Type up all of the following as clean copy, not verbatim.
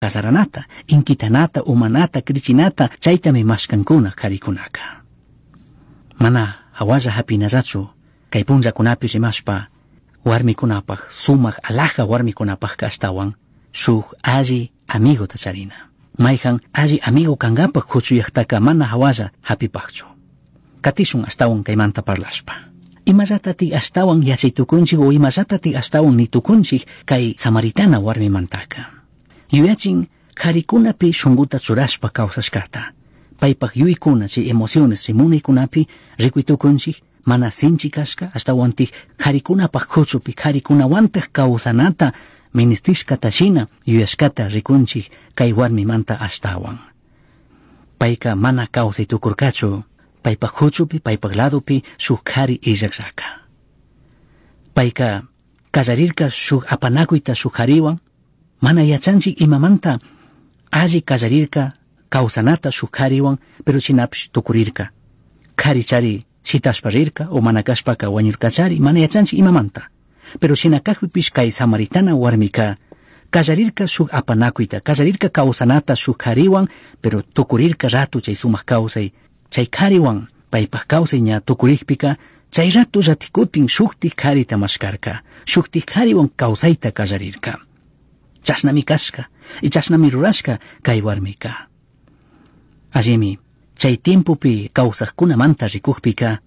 Cazaranata, inquitanata, umanata, crichinata, chaitami mashkankuna karikunaka. Mana hawalla hapinallachu kay punllakunapi rimashpa warmikunapaj sumak alaja warmikunapajka ashtawan shuk alli amigota charina. Mayhan alli amigo kankapak huchuyaqtaka mana hawalla hapipakchu. Katishun ashtawan kaymanta parlashpa. Imallatati ashtawan yachay tukunchik o imallatati ashtawan nitukunchik kay samaritana warmimantaka. Yuyachin karikunapi shunguta churashpa kawsashkata. Paypak yuykuna chay emociones chay munaykunapi rikuy tukunchik mana sinchi kashka ashtawantik karikunapaj kuchupi karikunawantaj kawsanata ministishkata shina yuyashkata rikunchik kay warmimanta ashtawan. Payka mana kawsay tukurkachu paypak huchupi paypak ladopi shuk kari illakllaka. Payka kallarirka shuk apanakuyta shuk kariwan mana yachanchik imamanta alli kallarirka kawsanata shuk kariwan pero shinapish tukurirka. Kari chari shitashpa rirka o mana kashpaka wañurkachari mana yachanchik imamanta. Pero shina kakpipish kay samaritana warmika kallarirka shuk apanakuyta kallarirka kawsanata shuk kariwan pero tukurirka ratu chay sumak kawsay chay kariwan paypak kawsay ña tukurikpika chay ratu ratikutin shuktik karita mashkarka shuktik kariwan kawsayta kallarirka. Chashnami kashka y chashnami rurashka kay warmika. Allimi chay tiempopi kawsaqkunamanta rikukpika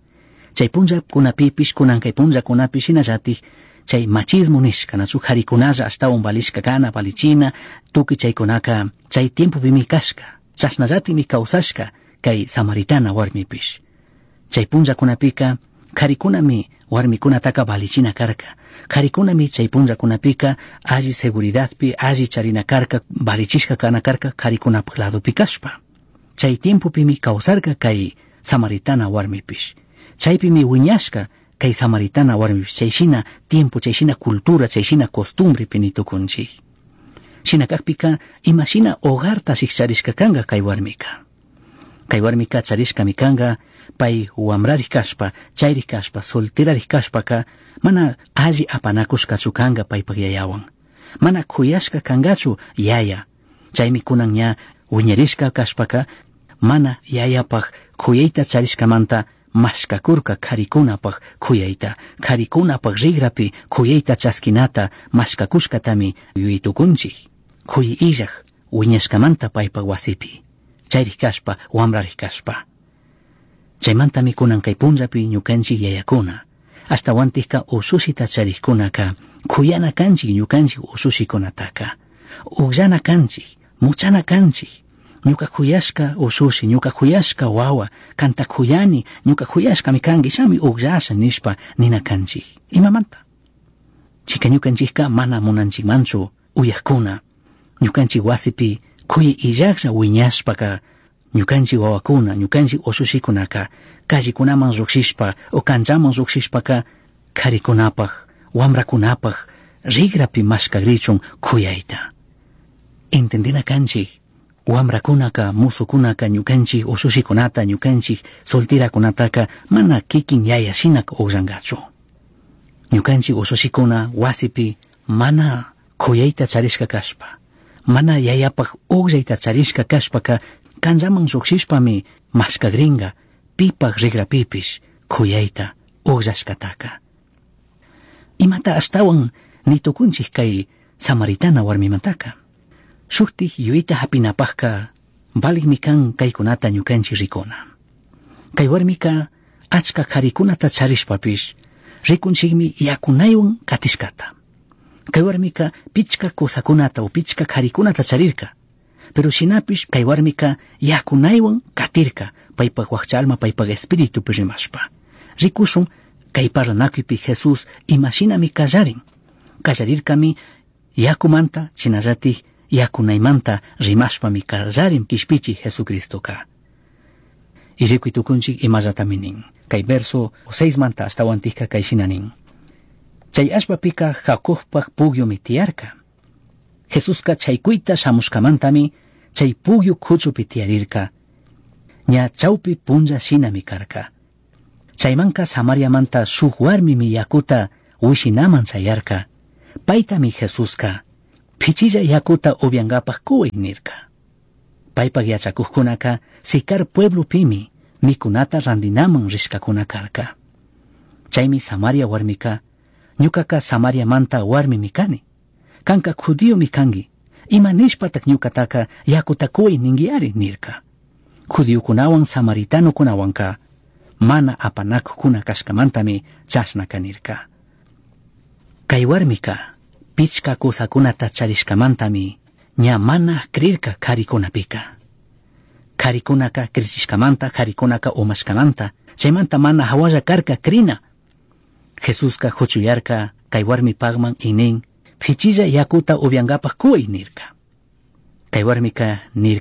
chay punllakunapipish kunan kay punllakunapi shinallatik chay machismo nishka nachu karikunalla ashtawan valishka kana valichina tukuy chaykunaka chay tiempopimi kashka chashnallatimi kawsashka kay samaritana warmipish. Chay punllakunapika karikunami warmikunataka valichina karka. Karikunami chay punllakunapika alli seguridadpi alli charina karka valichishka kana karka karikunapak ladopi kashpa. Chay tiempopimi kawsarka kay samaritana warmipish. Chaypimi wiñashka kay samaritana warmipish chay shina tiempo chay shina cultura chay shina costumbrepi nitukunchik. Shina kakpika imashina hogarta shikcharishka kanka kay warmika. Kay warmika charishkami kanka pay wamrarik kashpa chayrik kashpa solterarik kashpaka mana alli apanakushkachu kanka paypak yayawan. Mana kuyashka kankachu yaya. Chaymi kunan ña wiñarishka kashpaka mana yayapak kuyayta charishkamanta mashkakurka karikunapaj kuyayta karikunapaj rigrapi kuyayta chaskinata mashkakushkatami yuyaytukunchik. Kuyay illaj wiñashkamanta paypak wasipi. Chayrik kashpa wamrarik kashpa. Chaymantami kunan kay punllapi ñukanchik yayakuna. Ashtawantikka usushita charikkunaka kuyana kanchik ñukanchik usushikunataka. Ukllana kanchik, muchana kanchik. Ñuka kuyashka usushi, ñuka kuyashka wawa, kanta kuyani, ñuka kuyashkami kanki, shami ukllasha nishpa nina kanchik. Imamanta? Chika ñukanchikka mana munanchikmanchu uyakuna. Ñukanchik wasipi kuyay illaklla wiñashpaka ñukanchik wawakuna, ñukanchik usushikunaka callekunaman lluqshishpa o kanchaman lluqshishpaka karikunapaj, wamrakunapaj rigrapi mashkagrichun kuyayta. Entendina kanchik wamrakunaka, musukunaka, ñukanchik usushikunata, ñukanchik solterakunataka mana kikin yaya shinaka ukllankachu. Ñukanchik usushikuna wasipi mana kuyayta charishka kashpa, mana yayapaj ukllayta charishka kashpaka kanchaman lluqshishpami mashkagrinka pipaj rigrapipish kuyayta ukllashkataka. Imata ashtawan nitukunchik kay samaritana warmimantaka. Shuktik yuyayta hapinapajka valikmi kan kaykunata ñukanchik rikuna. Kay warmika achka karikunata charishpapish rikunchikmi yakunaywan katishkata. Kay warmika pichka kusakunata o pichka karikunata charirka. Pero shinapish kay warmika yakunaywan katirka paypak wakcha alma paypak espiritupi rimashpa. Rikushun kay parlanakuypi Jesús imashinami kallarin. Kallarirkami yakumanta shinallatik yakunaymanta rimashpami kallarin kishpichi Jesucristoka. Y rikuy tukunchik imallatami nin. Kay verso 6 manta ashtawantikka kay shina nin. Chay allpapika Jacobpak pugyumi tiyarka. Jesuska chaykuyta shamushkamantami chay pugyu kuchupi tiyarirka. Ña chawpi punlla shinami karka. Chaymanka Samariamanta shuk warmimi yakuta wishinaman chayarka. Paytami Jesuska Pichilla yakuta upyangapaj cuwai nirca. Paipaj yachacujcunaca Sicar pueblopimi micunata randinaman rishcacuna carca. Chaimi Samaria huarmica, ñucaca Samariamanta huarmimi cani. Canca judiomi cangui. Ima nishpataj ñucataca yacuta cuwai ninguiari nirca. Judiocunahuan samaritanocunahuanca mana apanacujcuna cashcamantami chashnaca nirca. Cai huarmica pichca cusacunata charishcamantami ña mana crirca caricunapica. Caricunaca crichishcamanta, caricunaca umashcamanta, chaymanta mana jahualla carca crina. Jesusca juchuyarca cai huarmipajman y nin, pichilla yacuta upyangapaj cuwai nirca. Cai huarmica nirca.